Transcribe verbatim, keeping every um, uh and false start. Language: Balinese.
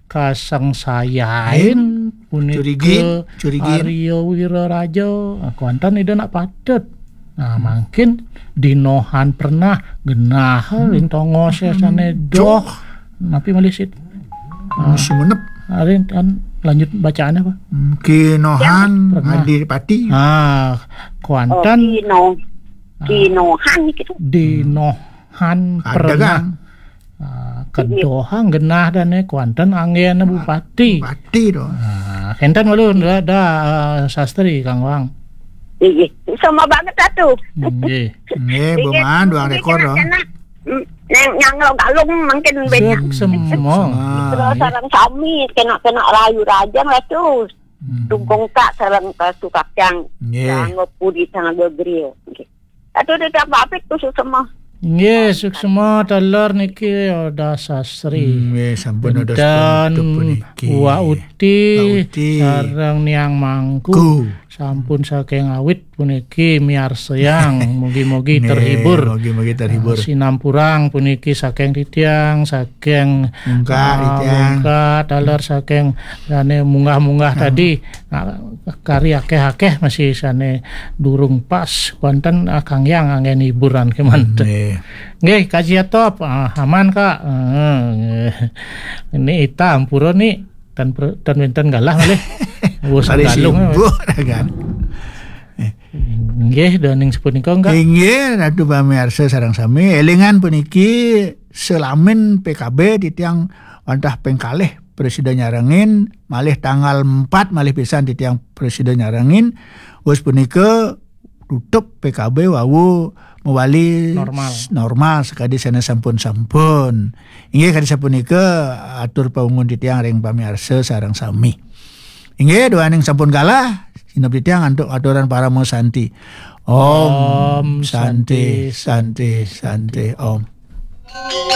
Kasangsayain punika Curigin, curigin. Arya Wiraraja. Nah, kuanten Ida nak patut. Nah, mangkin dinohan pernah genah ring tongos sane doh. Napi malih sit? Ah, Sumenep. Ari kan lanjut bacaannya apa? Kinohan Pernah. Adipati. Ah, kuanten Oh, kino. Ah. Kinohan gitu. Dinohan Ada pernah. Kan? Ah, kedohang genah dane kuanten anggena bupati. Bupati to. Ah, kenten malu da, da, ah, sastri Kang Wang. Iya, sama banget satu. Nggih. Nggih, Bu Maan, duang rekor to. Nang nyanglo galung mungkin banyak. Suksma. Terus sareng sami kena-kena rayu rajang lah terus. Hmm. Tungkung tak sareng kasu kacang. Nggih. Sanggo puri sanggo griyo. Nggih. Aduh, tidak papit khusus semua. Nggih, suksma taler niki Oda Sastri. Hmm, nggih, sampun Oda Pinten Sastri puniki. Wa Uti Wa Uti. Sareng Niang Mangku. Ku. Sampun saking awit puniki miarsayang. Mugi-mugi Nggih, terhibur. Mugi-mugi terhibur. Ah, sinampurang puniki saking titiang, saking, Mungkak, ah, titiang. Mungkak, taler saking dane munggah-munggah Ah. tadi. Nah, kari akeh-akeh masih sane durung pas. Wonten, ah, Kang Yang anggen hiburan kemanten. Nggih. Nggih, Kak Jatop, ah, aman, Kak. Heeh, nggih. Ini ita ampura ni tan per-, tan wenten galah malih. Wus Kali galung, sibuk, kan. Nggih, daning sepunika, Kak. Inggih, Ratu pamiarsa sareng sami, elingan puniki selamin P K B titiang wantah ping kalih prasida nyarengin, malih tanggal empat malih pisan titiang prasida nyarengin. Wus punika tutup P K B wau mawali Normal. S-, normal sakadi sane sampun-sampun. Inggih kadi sapunika atur paungun titiang ring pamiarsa sareng sami. Inggih, duaning sampun galah, sineb titiang antuk aturan parama santi. Om Om Santi, Santi. Santi, Santi, Om.